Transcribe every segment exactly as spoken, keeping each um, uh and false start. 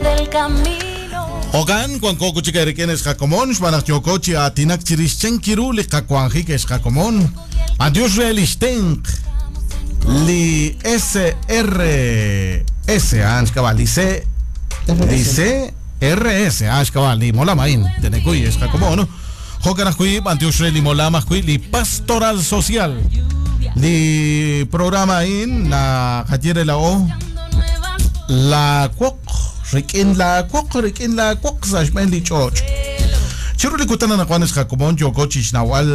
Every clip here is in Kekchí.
del camino. Jokan, wanko kuchik erik'in ex qakomon, xb'aan naq yooko chi aatinak chirix chan ru li qawanjik ex qakomon. Adiós re lix tenq li S R S, ah, xkab'a, li C, li C R S, ah, xkab'a, li molam a'in, tenekuy ex qakomon, no? Jokan ajwi', b'antiox re li molam ajwi', li pastoral social. Li programa a'in, na qaye re la O, la woq, rik'in la woq, rik'in la woq sa' xb'een li ch'och'. Chiru li kutan anaqwan ex qakomon yooko chi xnawal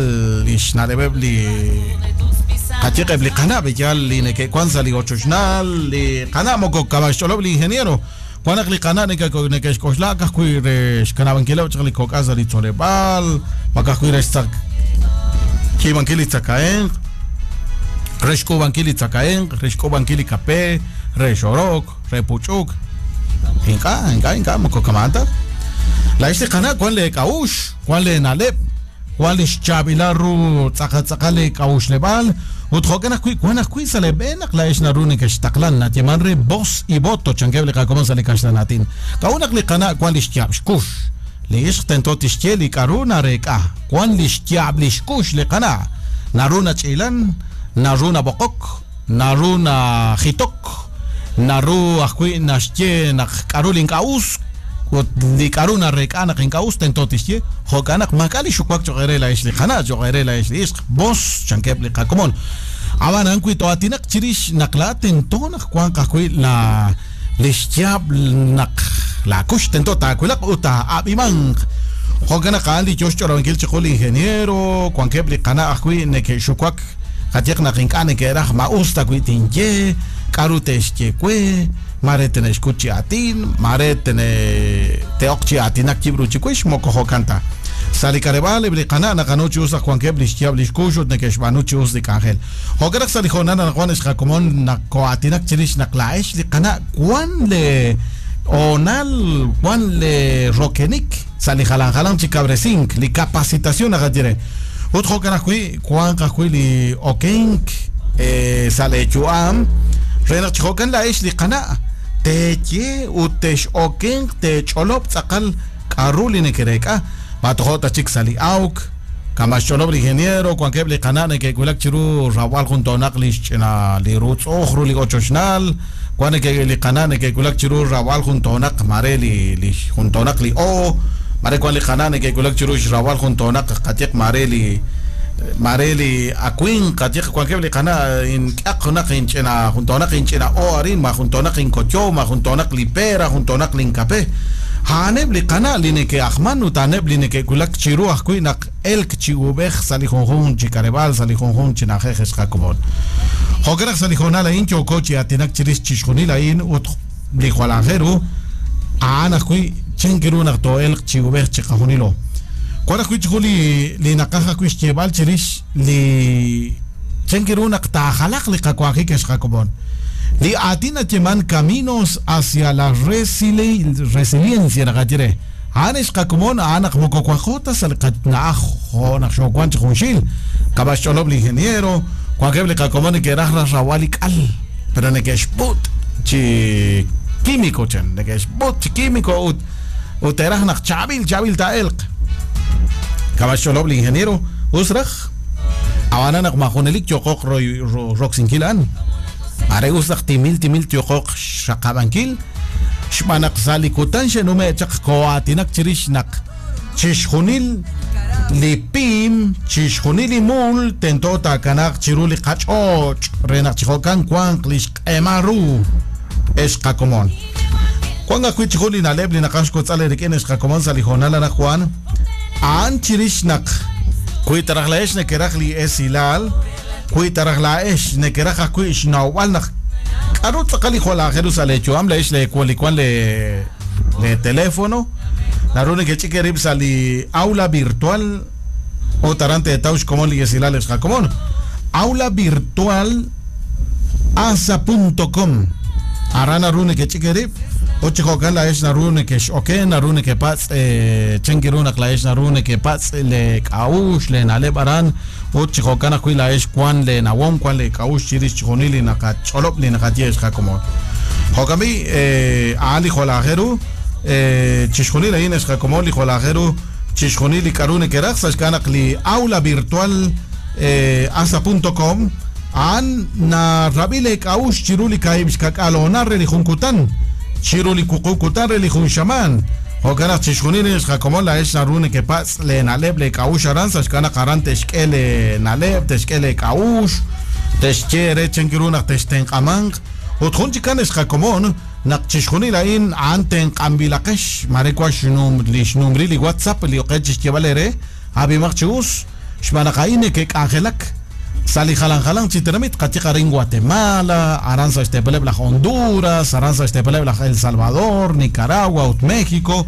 li xna'leb'eb' li qayeqeb' li qana' b'eyal li neke'wan sa' li ochoxnal, li qana' moko kama' xch'olob' li ingeniero. Wan naq li qana' neke'xk'oxla ka'ajwi' re xkanab'ankileb' chaq li kok'al sa' li tzoleb'aal, ma ka'ajwi' re xtzak kiib'ankil li tzakahemq, re xk'uub'ankil li tzakahemq, re xk'uub'ankil li kape, re xorok, re puch'uk. Ink'a', ink'a', ink'a' moko kama'an ta. La ix li qana' wan le k'a'ux, wan le na'leb', wan li xchaab'ilal ru tz'aqal tz'aqal le k'a'uxleb'aal, ut jo'kan ajwi' wan ajwi' sa' le b'e naq la ix naru neke'xtaqlan, nayeeman re voz y voto chankeb' li qakomon sa' li kaxlan aatin. K'a'ut naq li qana' wan li xyaab' xkux, li ixq tento tixye li k'a'ru nareek'a, wan li xyaab' li xkux li qana', naru nach'ilan, naru nab'oqok, naru najitok, naru ajwi' naxye naq k'a'ru li ink'a' us, ut li k'a'ru nareek'a naq ink'a' us tento tixye, jo'kan naq maak'a' li xuwak cho'q re la ix li qana', cho'q re la ix li ixq, voz chankeb' li qakomon. Ab'anan wi to'aatinaq chirix naq la tento naq wanq ajwi' la li xyaab' naq la kux tento taawilaq ut taa'ab'imanq. Jo'kan naq a'an li yo xch'olob'ankil chiqu li ingeniero, wankeb' li qana' ajwi' neke'xuwak, qayeq naq ink'a' neke'raj ma us ta wi' tinye, k'a'ru te'xye we, mare tene'xkut chi aatin, mare tene te'oq chi aatinak yib' ru chiwix, moko jo'kan ta. Sa' li k'aleb'aal eb' li qana' naqanu chi us naq wankeb' li xyaab' li xkux ut neke'xb'aanu chi us li k'anjel. Jo'kan naq sa' li hoonal anaqwan ex qakomon naq ko'aatinak chirix naq la'ex li qana' wan le hoonal, wan le rokenik sa' li jalan jalan chi kabresink, li capacitación naqaye re. Ut jo'kan ajwi' wanq ajwi' li okenk, eh, sa' le yu'am, re naq chi jo'kan la'ex li qana' teye ut texokenq tech'olob' tz'aqal k'a'ru li neke'reek'a. Matojo' ta chik sa' li awk, kama' xch'olob' li ingeniero, wankeb' li qana' neke'wulak chiru rawb'al jun toonaq li xch'ina li rutz'uj ru li ochoxnal, wan neke' li qana' neke'wulak chiru rawb'al jun toonaq mare li, li jun toonaq li o, mare wan li qana' neke'wulak chiru xrawb'al jun toonaq qayeq mare li mare li akuin, qayeq wankeb' li qana' ink'aq junaq inch'ina jun toonaq inch'ina o arin, ma jun toonaq inkocho, ma jun toonaq li pera, jun toonaq li inkape. A'aneb' li qana' li neke'ajman ut a'aneb' li neke'wulak chiru ajwi' naq elk chi ub'ej sa' li junjun chi k'aleb'aal, sa' li junjun chi na'ajej ex qakomon. Jo'kan naq sa' li hoonal a'in yooko chi aatinak chirix chixjunil a'in ut li jwal aajel ru, a'an ajwi' chan ru naq too'elq chi ub'ej chi qajunilo. Wan ajwi' chiqu li, li naqaj ajwi' xyeeb'al chirix li chan ru naq taajalaq li qawanjik ex qakomon. Li aatin nayeeman caminos hacia la resili-, resiliencia naqaye re. A'an ex qakomon, a'an naq moko wanqo ta sa' li qana'aj jo' naq xoowan chi junxil. Kama' xch'olob' li ingeniero, wankeb' li qakomon neke'raj raj rawb'al li k'al, pero neke'xput chi químico chan, neke'xput chi químico ut, ut te'raj naq chaab'il, chaab'il taa'elq. Kama' xch'olob' li ingeniero, us raj, ab'anan naq ma junelik yoqoq ro-, ro-, roksinkil a'an. Are us naq timil, timil yoqoq xaqab'ankil, xb'aan naq sa' li kutan xe'nume' chaq ko'aatinak chirix naq chixjunil li pim, chixjunil li mul tento taakanaaq chiru li qach'och' re naq chi jo'kan wanq li xq'emal ru ex qakomon. Wan ajwi' chi jun li na'leb' li naqaj xkotz'al eerik'in ex qakomon sa' li hoonal anaqwan, a'an chirix naq wi taraj la'ex nekeraj li esilal, wi taraj la'ex nekeraj ajwi' xnawb'al naq k'a'ru tz'aqal li jwal aajel ru sa' leeyu'am, la'ex le li wan le, le teléfono, naru nekech'ik eerib' sa' li aula virtual ut aran teetaw xkomon li esilal ex qakomon. Aula virtual asa punto com. Aran naru nekech'ik eerib' ut chi jo'kan la'ex naru nekex'oken, naru nekepatz', eh, chan ru naq la'ex naru nekepatz' le k'a'uxl, le na'leb' aran, ut chi jo'kan ajwi' la'ex wan le nawom, wan le k'a'uxl chirix chixjunil li naqach'olob' li naqaye ex qakomon. Jo'kan b'i' a'an li jwal aajel ru chixjunil a'in ex qakomon li jwal aajel ru chixjunil li k'aru nekeraj sa' xk'ab'a naq li aula virtual asa punto com a'an narab'i le k'a'uxl chiru li kaahib' xkak'al honar re li jun kutan chiru li wuqub' kutan re li jun xamaan. Jo'kan naq chixjunil ex qakomon laa'ex naru nekepatz' le na'leb' le k'a'uxl aran sa' xk'ab'a naq aran te'xk'e le na'leb' te'xk'e le k'a'uxl te'xye re chan ru naq textenq'amanq ut jun chikan ex qakomon naq chixjunil a'in a'an tenq'anb'ilaqex mare wan xnum li xnumri li WhatsApp li oqe chixyeb'al ere ab'imaq chi us xb'aan naq a'in nekek'anjelak sa' li jalan jalan chi tenamit qatiq arin Guatemala aran sa' xtepeleb' laj Honduras aran sa' xtepeleb' laj El Salvador Nicaragua ut México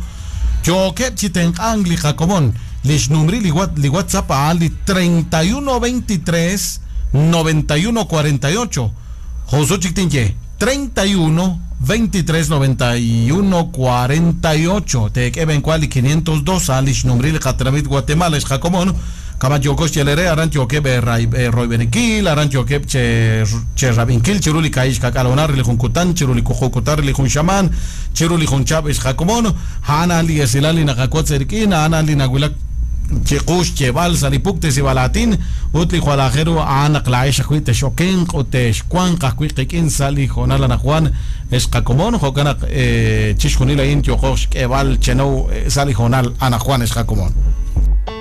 yookeb' chi tenq'ank li qakomon li xnumri li li WhatsApp a'an li treinta y uno veintitrés noventa y uno cuarenta y ocho Josu chik tinye treinta y uno veintitrés noventa y uno cuarenta y ocho teek'e benkual li quinientos dos a'an li xnumri li qatenamit Guatemala ex qakomon kama yookos yelere aran yookeb' royb'enikil aran yookeb' che cherrab'inkil chiru li kaahib' xkak'al honar li jun kutan chiru li wuqub' kutan li jun xamaan chiru li jun chab' ex qakomon a'an a'an li esilal li naqakotz erik'in a'an a'an li nawilak chiqu xyeb'al sa' li puktesib'al aatin ut li jwal aajel ru a'an naq laa'ex ajwi' texokenq ut texwanq ajwi' qik'in sa' li hoonal anaqwan ex qakomon jo'kan naq chixjunil a'in yooqo xk'eeb'al chenow sa' li hoonal anaqwan ex qakomon.